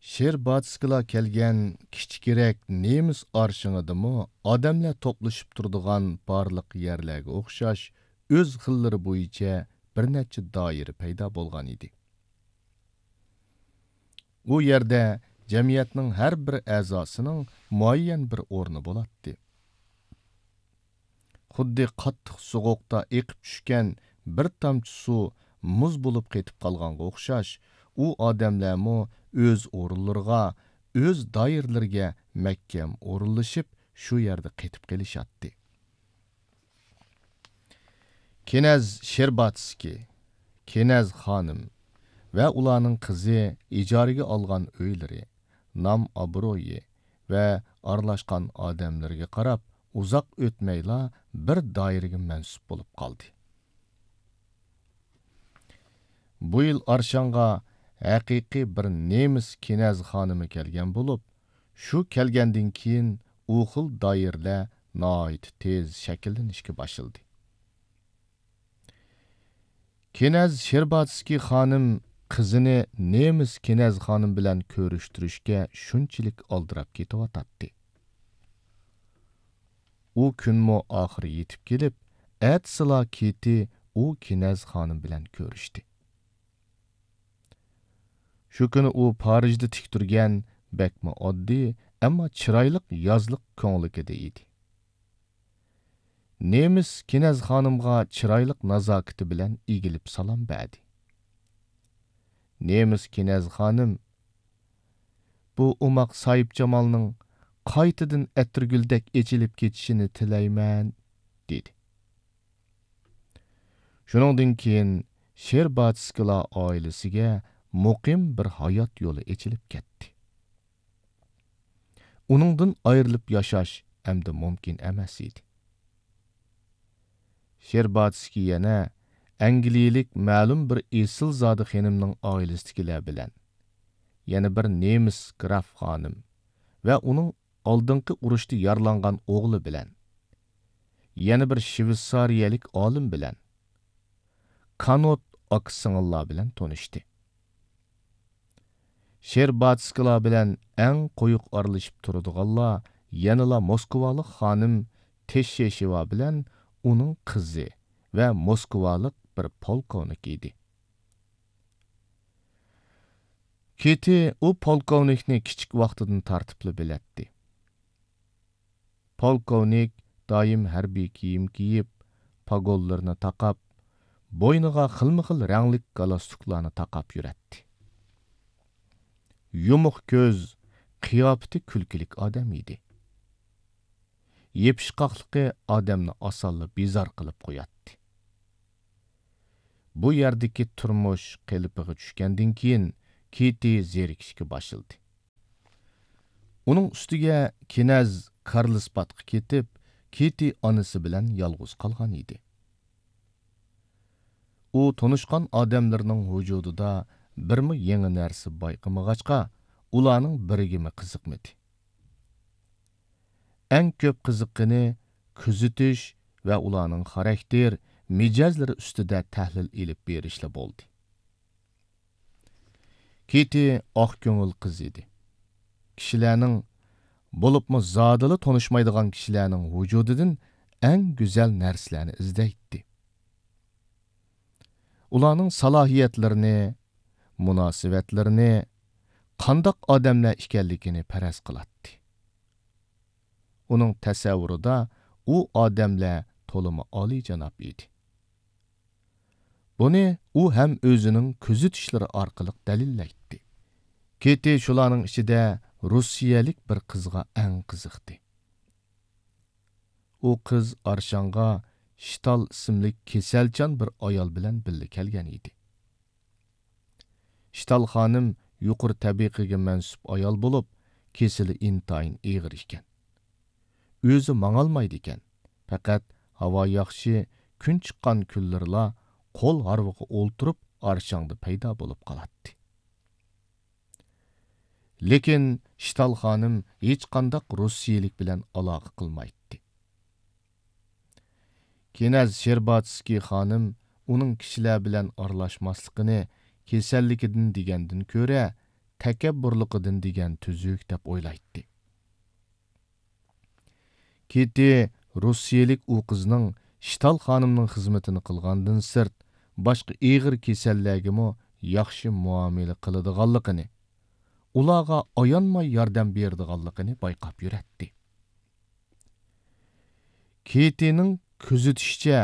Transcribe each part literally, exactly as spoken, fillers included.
شېرباتسكىلار كەلگەن كىچىكرەك نېمىس ئارشىڭىدىمۇ ئادەملەر توپلىشىپ تۇرىدىغان بارلىق يەرلەرگە ئوخشاش ئۆز خىللىرى بويىچە بىر نەچچە دائىرە پەيدا بولغان ئىدى. ئۇ يەردە جەمئىيەتنىڭ ھەر بىر ئەزاسىنىڭ مۇئەييەن بىر ئورنى بولاتتى. خۇددى قاتتىق سوغۇقتا ئېقىپ چۈشكەن بىر تامچە سۇ مۇز بولۇپ قېتىپ قالغانغا ئوخشاش، ئۇ ئادەملەرمۇ ئۆز ئورۇنلىرىغا، ئۆز دائىرىلىرىگە مەھكەم ئورۇنلىشىپ، شۇ يەردە قېتىپ قېلىشاتتى. كىنەز شېرباتسكىي، كىنەز خانىم ۋە ئۇلارنىڭ قىزى ئىجارىگە ئالغان ئۆيلىرى، نام-ئابرۇيى ۋە ئارىلاشقان ئادەملىرىگە قاراپ، ئۇزاق ئۆتمەيلا بىر دائىرىگە مەنسۇپ بولۇپ قالدى. بۇ يىل ئارشانغا ھەقىقىي بىر نېمىس كىنەز خانىمى كەلگەن بولۇپ، شۇ كەلگەندىن كېيىن ئۇ خىل دائىرىلەر ناھايىتى تېز شەكىللىنىشكە باشلىدى. كىنەز شېرباتسكىي خانىم قىزىنى نېمىس كىنەز خانىم بىلەن كۆرۈشتۈرۈشكە شۇنچىلىك ئالدىراپ كېتىۋاتاتتى. ئۇ كۈنمۇ ئاخىرى يېتىپ كېلىپ، ئەتىسىلا كېتى ئۇ كىنەز خانىم بىلەن كۆرۈشتى. شۇ كۈنى ئۇ پارىژدا تىك تۇرگەن بەكمۇ ئاددىي، ئەمما چىرايلىق يازلىق كۆڭلىكىدە ئىدى. نېمىس كىنەز خانىمغا چىرايلىق نازاكىتى بىلەن ئېگىلىپ سالام بەردى. نېمىس كىنەز خانىم، بۇ ئوماق ساھىبجامالنىڭ قايتىدىن ئەتىرگۈلدەك ئېچىلىپ كېتىشىنى تىلەيمەن، دېدى. شۇنىڭدىن كېيىن شېرباتسكىلار ئائىلىسىگە مۇقىم بىر ھايات يولى ئېچىلىپ كەتتى. ئۇنىڭدىن ئايرىلىپ ياشاش ئەمدى مۇمكىن ئەمەس ئىدى. شېرباتسكىي يەنە ئەنگلىيەلىك مەلۇم بىر ئېسىلزادە خېنىمنىڭ ئائىلىسىدىكىلەر بىلەن، يەنە بىر نېمىس گراف خانىم ۋە ئۇنىڭ ئالدىنقى ئۇرۇشتا يارىلانغان ئوغلى بىلەن، يەنە بىر شۋېتسارىيەلىك ئالىم بىلەن، كانوت ئاكا-سىڭىللار بىلەن تونۇشتى. شېرباتسكىلار بىلەن ئەڭ قويۇق ئارىلىشىپ تۇرىدىغانلار يەنىلا موسكۋالىق خانىم تېششېشېۋا بىلەن ئۇنىڭ قىزى ۋە موسكۋالىق بىر پولكوۋنىك ئىدى. كېتى ئۇ پولكوۋنىكنى كىچىك ۋاقتىدىن تارتىپلا بىلەتتى. پولكوۋنىك دائىم ھەربىي كىيىم كىيىپ، پاگونلىرىنى تاقاپ، بوينىغا خىلمۇ خىل رەڭلىك گالستۇكلارنى تاقاپ يۈرەتتى. يۇمۇق كۆز، قىياپىتى كۈلكىلىك ئادەم ئىدى. يېپىشقاقلىقى ئادەمنى ئاسانلا بىزار قىلىپ قوياتتى. بۇ يەردىكى تۇرمۇش قېلىپىغا چۈشكەندىن كېيىن، كېتى زېرىكىشكە باشلىدى. ئۇنىڭ ئۈستىگە كىنەز كارلسبادقا كېتىپ، كېتى ئانىسى بىلەن يالغۇز قالغان ئىدى. ئۇ تونۇشقان ئادەملىرىنىڭ ۋۇجۇدىدا بىرمۇ يېڭى نەرسە بايقىمىغاچقا، ئۇلارنىڭ بىرىگىمۇ قىزىقمىدى. ئەڭ كۆپ قىزىققىنى كۆزىتىش ۋە ئۇلارنىڭ خاراكتېر، مىجەزلىرى ئۈستىدە تەھلىل ئېلىپ بېرىشلا بولدى. كېتى ئاق كۆڭۈل قىز ئىدى. كىشىلەرنىڭ، بولۇپمۇ زادىلا تونۇشمايدىغان كىشىلەرنىڭ ۋۇجۇدىدىن ئەڭ گۈزەل نەرسىلەرنى ئىزدەيتتى. ئۇلارنىڭ سالاھىيەتلىرىنى، مۇناسىۋەتلىرىنى، قانداق ئادەملەر ئىكەنلىكىنى پەرەز قىلاتتى. ئۇنىڭ تەسەۋۋۇرىدا ئۇ ئادەملەر تولىمۇ ئالىيجاناب ئىدى. بۇنى ئۇ ھەم ئۆزىنىڭ كۆزىتىشلىرى ئارقىلىق دەلىللەيتتى. كېتى شۇلارنىڭ ئىچىدە روسىيەلىك بىر قىزغا ئەڭ قىزىقتى. ئۇ قىز ئارشانغا شتال ئىسىملىك كېسەلچان بىر ئايال بىلەن بىللە كەلگەن ئىدى. شتال خانىم يۇقىرى تەبىقىگە مەنسۇپ ئايال بولۇپ، كېسىلى ئىنتايىن ئېغىر ئىكەن. ئۆزى ماڭالمايدىكەن، پەقەت ھاۋا ياخشى، كۈن چىققان كۈنلىرىلا قول ھارۋىغا ئولتۇرۇپ، ئارشاڭدا پەيدا بولۇپ قالاتتى. لېكىن شتال خانىم ھېچقانداق روسىيىلىك بىلەن ئالاقە قىلمايتتى. كىنەز شېرباتسكىي خانىم ئۇنىڭ كىشىلەر بىلەن ئارىلاشماسلىقىنى كېسەللىكىدىن دېگەندىن كۆرە، تەكەببۇرلۇقىدىن دېگەن تۈزۈك دەپ ئويلايتتى. كىتى روسىيەلىك ئۇ قىزنىڭ شتال خانىمنىڭ خىزمىتىنى قىلغاندىن سىرت، باشقا ئېغىر كېسەللەرگىمۇ ياخشى مۇئامىلە قىلىدىغانلىقىنى، ئۇلارغا ئايانماي ياردەم بېرىدىغانلىقىنى بايقاپ يۈرەتتى. كىتىنىڭ كۆزىتىشىچە،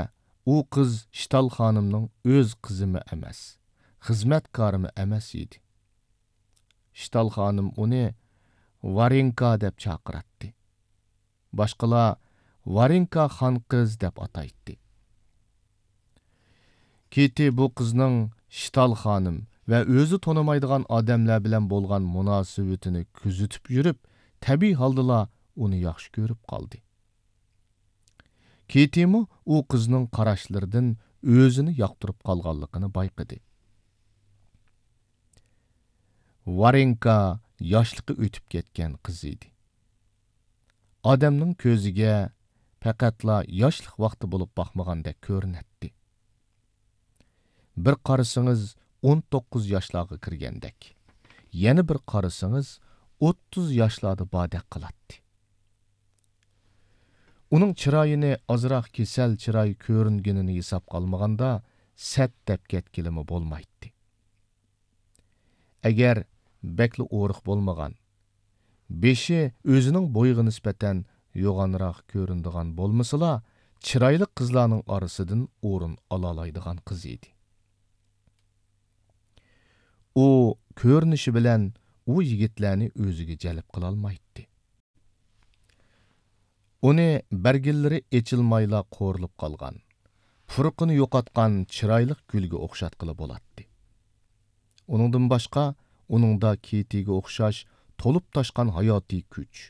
ئۇ قىز شتال خانىمنىڭ ئۆز قىزىمۇ ئەمەس، خىزمەتكارىمۇ ئەمەس ئىدى. شتال خانىم ئۇنى ۋارېنكا دەپ چاقىراتتى. باشقىلار ۋارېنكا خان قىز دەپ ئاتايتتى. كىتى بۇ قىزنىڭ شتال خانىم ۋە ئۆزى تونۇمايدىغان ئادەملەر بىلەن بولغان مۇناسىۋىتىنى كۆزىتىپ يۈرۈپ، تەبىئىي ھالدىلا ئۇنى ياخشى كۆرۈپ قالدى. كىتىمۇ ئۇ قىزنىڭ قاراشلىرىدىن ئۆزىنى ياقتۇرۇپ قالغانلىقىنى بايقىدى. ۋارېنكا ياشلىقى ئۆتۈپ كەتكەن قىز ئىدى. ئادەمنىڭ كۆزىگە پەقەتلا ياشلىق ۋاقتى بولۇپ باقمىغاندەك كۆرۈنەتتى. بىر قارىسىڭىز، ئون توققۇز ياشلارغا كىرگەندەك، يەنە بىر قارىسىڭىز، ئوتتۇز ياشلاردا باردەك قىلاتتى. ئۇنىڭ چىرايىنى ئازراق كېسەل چىراي كۆرۈنگىنىنى ھېسابقا ئالمىغاندا، سەت دەپ كەتكىلىمۇ بولمايتتى. ئەگەر بەكلا ئورۇق بولمىغان، بېشى ئۆزىنىڭ بويىغا نىسبەتەن يوغانراق كۆرۈنىدىغان بولمىسىلا، چىرايلىق قىزلارنىڭ ئارىسىدىن ئورۇن ئالالايدىغان قىز ئىدى. ئۇ كۆرۈنۈشى بىلەن ئۇ يىگىتلەرنى ئۆزىگە جەلپ قىلالمايتتى. ئۇنى بەرگىلىرى ئېچىلمايلا قورۇلۇپ قالغان، پۇرىقىنى يوقاتقان چىرايلىق گۈلگە ئوخشاتقىلى بولاتتى. ئۇنىڭدىن باشقا، ئۇنىڭدا كىتىگە ئوخشاش تولۇپ تاشقان ھاياتىي كۈچ،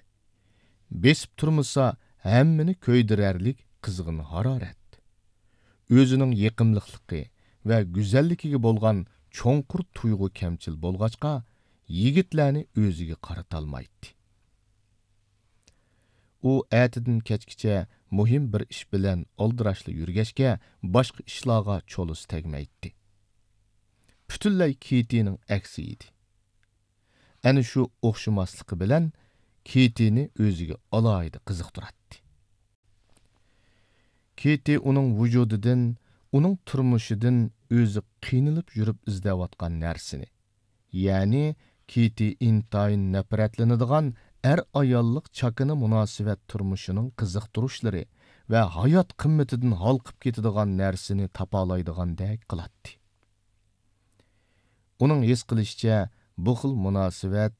بېسىپ تۇرمىسا ھەممىنى كۆيدۈرەرلىك قىزغىن ھارارەت، ئۆزىنىڭ يېقىملىقلىقى ۋە گۈزەللىكىگە بولغان چوڭقۇر تۇيغۇ كەمچىل بولغاچقا، يىگىتلەرنى ئۆزىگە قارىتالمايتتى. ئۇ ئەتىدىن كەچكىچە مۇھىم بىر ئىش بىلەن ئالدىراشلا يۈرگەچكە، باشقا ئىشلارغا چولىسى تەگمەيتتى. پۈتۈنلەي كىتىنىڭ ئەكسى ئىدى. ئەنە شۇ ئوخشىماسلىقى بىلەن كىتىنى ئۆزىگە ئالاھىدە قىزىقتۇراتتى. كىتى ئۇنىڭ ۋۇجۇدىدىن، ئۇنىڭ تۇرمۇشىدىن ئۆزى قىينىلىپ يۈرۈپ ئىزدەۋاتقان نەرسىنى، يەنى كىتى ئىنتايىن نەپرەتلىنىدىغان ئەر-ئاياللىق چاكىنا مۇناسىۋەت تۇرمۇشىنىڭ قىزىقتۇرۇشلىرى ۋە ھايات قىممىتىدىن ھالقىپ كېتىدىغان نەرسىنى تاپالايدىغاندەك قىلاتتى. ئۇنىڭ ھېس قىلىشىچە، بۇ خىل مۇناسىۋەت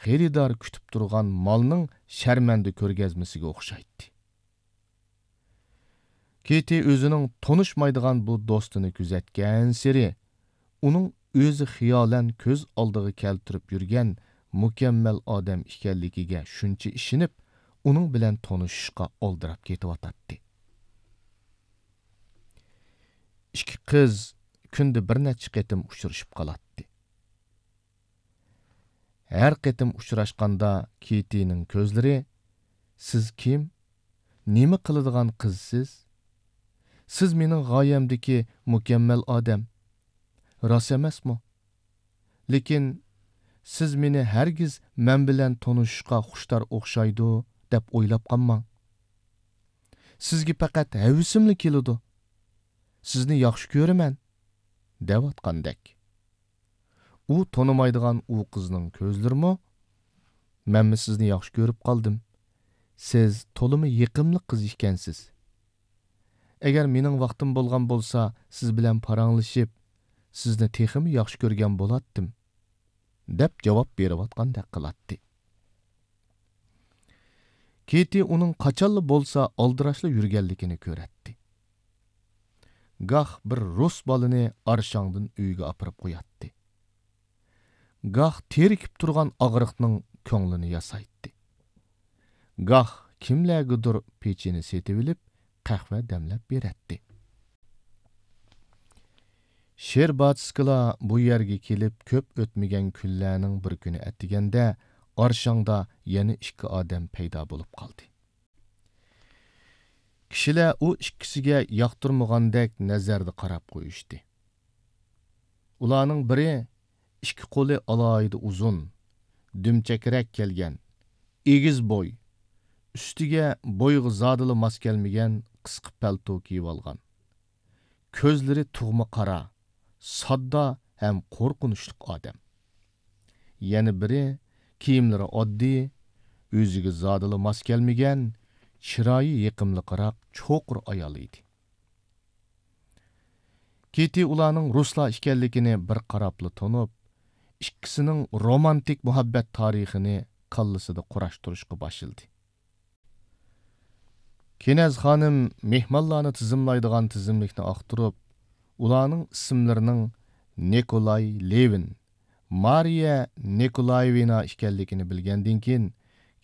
خېرىدار كۈتۈپ تۇرغان مالنىڭ شەرمەندە كۆرگەزمىسىگە ئوخشايتتى. كىتى ئۆزىنىڭ تونۇشمايدىغان بۇ دوستىنى كۆزەتكەنسېرى، ئۇنىڭ ئۆزى خىيالەن كۆز ئالدىغا كەلتۈرۈپ يۈرگەن مۇكەممەل ئادەم ئىكەنلىكىگە شۇنچە ئىشىنىپ، ئۇنىڭ بىلەن تونۇشۇشقا ئالدىراپ كېتىۋاتاتتى. ئىككى قىز كۈندە بىر نەچچە قېتىم ئۇچرىشىپ قالاتتى. ھەر قېتىم ئۇچراشقاندا كىتىنىڭ كۆزلىرى، «سىز كىم؟ نېمە قىلىدىغان قىزسىز؟ سىز مېنىڭ غايەمدىكى مۇكەممەل ئادەم. راست ئەمەسمۇ؟ لېكىن سىز مېنى ھەرگىز مەن بىلەن تونۇشۇشقا خۇشتار ئوخشايدۇ دەپ ئويلاپ قالماڭ. سىزگە پەقەت ھەۋىسىملا كېلىدۇ. سىزنى ياخشى كۆرىمەن» دەۋاتقاندەك. ئۇ تونۇمايدىغان ئۇ قىزنىڭ كۆزلىرىمۇ، «مەنمۇ سىزنى ياخشى كۆرۈپ قالدىم. سىز تولىمۇ يېقىملىق قىز ئىكەنسىز. ئەگەر مېنىڭ ۋاقتىم بولغان بولسا، سىز بىلەن پاراڭلىشىپ، سىزنى تېخىمۇ ياخشى كۆرگەن بولاتتىم» دەپ جاۋاب بېرىۋاتقاندەك قىلاتتى. كىتى ئۇنىڭ قاچانلا بولسا ئالدىراشلا يۈرگەنلىكىنى كۆرەتتى. گاھ بىر رۇس بالىنى ئارشاڭدىن ئۆيىگە ئاپىرىپ قوياتتى. گاھ تېرىكىپ تۇرغان ئاغرىقنىڭ كۆڭلىنى ياسايتتى. گاھ كىملەرگىدۇر پېچىنى سېتىۋېلىپ، قەھۋە دەملەپ بېرەتتى. شېرباتسكىلار بۇ يەرگە كېلىپ كۆپ ئۆتمىگەن كۈنلەرنىڭ بىر كۈنى ئەتىگەندە ئارشاڭدا يەنە ئىككى ئادەم پەيدا بولۇپ قالدى. كىشىلەر ئۇ ئىككىسىگە ياقتۇرمىغاندەك نەزەردە قاراپ قويۇشتى. ئۇلارنىڭ بىرى ئىككى قولى ئالاھىدە ئۇزۇن، دۈمچەكرەك كەلگەن، ئېگىز بوي، ئۈستىگە بويىغا زادىلا ماس كەلمىگەن قىسقا پەلتو كىيىۋالغان. كۆزلىرى تۇغما قارا، ساددا ھەم قورقۇنچلۇق ئادەم. يەنە بىرى، كىيىملىرى ئاددىي، ئۆزىگە زادىلا ماس كەلمىگەن، چىرايى يېقىملىقراق چوقۇر ئايال ئىدى. كىتى ئۇلارنىڭ رۇسلار ئىكەنلىكىنى بىر قاراپلا تونۇپ، ئىككىسىنىڭ رومانتىك مۇھەببەت تارىخىنى كاللىسىدا قۇراشتۇرۇشقا باشلىدى. كېنەز خانىم مېھمانلارنى تىزىملايدىغان تىزىملىكنى ئاختۇرۇپ، ئۇلارنىڭ ئىسىملىرىنىڭ نىكولاي لېۋىن، مارىيە نىكولايېۋنا ئىكەنلىكىنى بىلگەندىن كېيىن،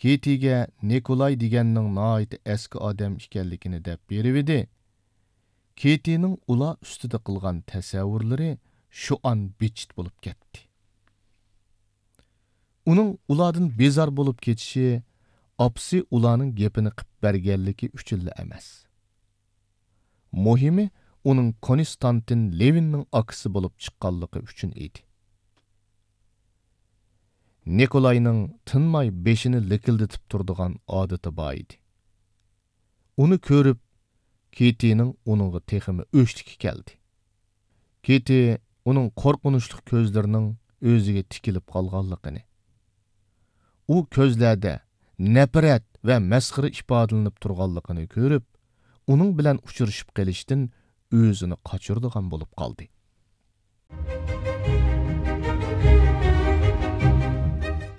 كىتىگە نىكولاي دېگەننىڭ ناھايىتى ئەسكى ئادەم ئىكەنلىكىنى دەپ بېرىۋىدى. كىتىنىڭ ئۇلار ئۈستىدە قىلغان تەسەۋۋۇرلىرى شۇ ئان بىچىت بولۇپ كەتتى. ئۇنىڭ ئۇلاردىن بىزار بولۇپ كېتىشى ئاپىسى ئۇلارنىڭ گېپىنى قىپ بەرگەنلىكى ئۈچۈنلا ئەمەس. مۇھىمى، ئۇنىڭ كونستانتىن لېۋىننىڭ ئاكىسى بولۇپ چىققانلىقى ئۈچۈن ئىدى. نىكولاينىڭ تىنماي بېشىنى لىكىلدىتىپ تۇرىدىغان ئادىتى بار ئىدى. ئۇنى كۆرۈپ، كىتىنىڭ ئۇنىڭغا تېخىمۇ ئۆچلۈكى كەلدى. كىتى ئۇنىڭ قورقۇنچلۇق كۆزلىرىنىڭ ئۆزىگە تىكىلىپ قالغانلىقىنى، ئۇ كۆزلەردە نەپرەت ۋە مەسخىرە ئىپادىلىنىپ تۇرغانلىقىنى كۆرۈپ، ئۇنىڭ بىلەن ئۇچرىشىپ قېلىشتىن ئۆزىنى قاچۇرىدىغان بولۇپ قالدى.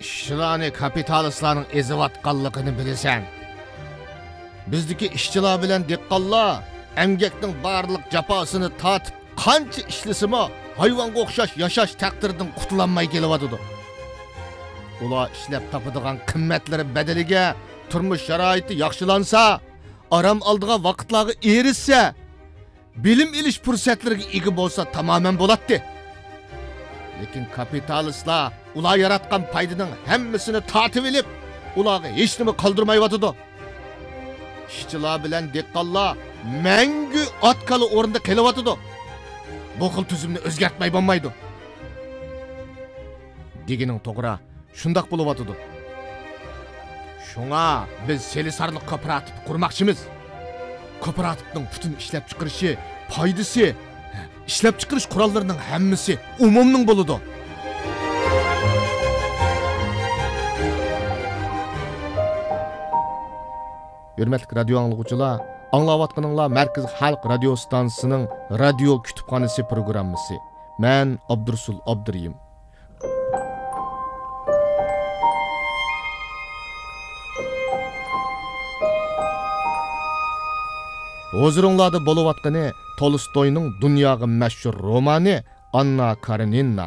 ئىشچىلارنى كاپىتالىستلارنىڭ ئېزىۋاتقانلىقىنى بىلىسەن. بىزدىكى ئىشچىلار بىلەن دېھقانلار ئەمگەكنىڭ بارلىق جاپاسىنى تارتىپ، قانچە ئىشلىسىمۇ، ھايۋانغا ئوخشاش ياشاش تەقدىرىدىن قۇتۇلالماي كېلىۋاتىدۇ. ئۇلار ئىشلەپ تاپىدىغان قىممەتلىرى بەدىلىگە تۇرمۇش شارائىتى ياخشىلانسا، ئارام ئالىدىغان ۋاقىتلارغا ئېرىشسە، بىلىم ئېلىش پۇرسەتلىرىگە ئىگە بولسا تامامەن بولاتتى. لېكىن كاپىتالىستلار ئۇلار ياراتقان پايدىنىڭ ھەممىسىنى تارتىۋېلىپ، ئۇلارغا ھېچنېمە قالدۇرمايۋاتىدۇ. ئىشچىلار بىلەن دېھقانلار مەڭگۈ ئات-كالا ئورنىدا قېلىۋاتىدۇ. بۇ خىل تۈزۈمنى ئۆزگەرتمەي بولمايدۇ. دېگىنىڭ توغرا، شۇنداق بولۇۋاتىدۇ. شۇڭا بىز سېلىسارلىق كوپىراتىپى قۇرماقچىمىز. كوپىراتىپنىڭ پۈتۈن ئىشلەپچىقىرىشى، پايدىسى، ئىشلەپچىقىرىش قوراللىرىنىڭ ھەممىسى ئومۇمنىڭ بولىدۇ. ھۆرمەتلىك رادىيو ئاڭلىغۇچىلار، ئاڭلاۋاتقىنىڭلار مەركىزىي خەلق رادىيو ستانسىسىنىڭ رادىيو كۇتۇپخانىسى پروگراممىسى. مەن ئابدۇرۇسۇل ئابدۇرېھىم. ھۇزۇرۇڭلاردا بولۇۋاتقىنى تولستوينىڭ دۇنياغا مەشھۇر رومانى ئاننا كارېنىنا.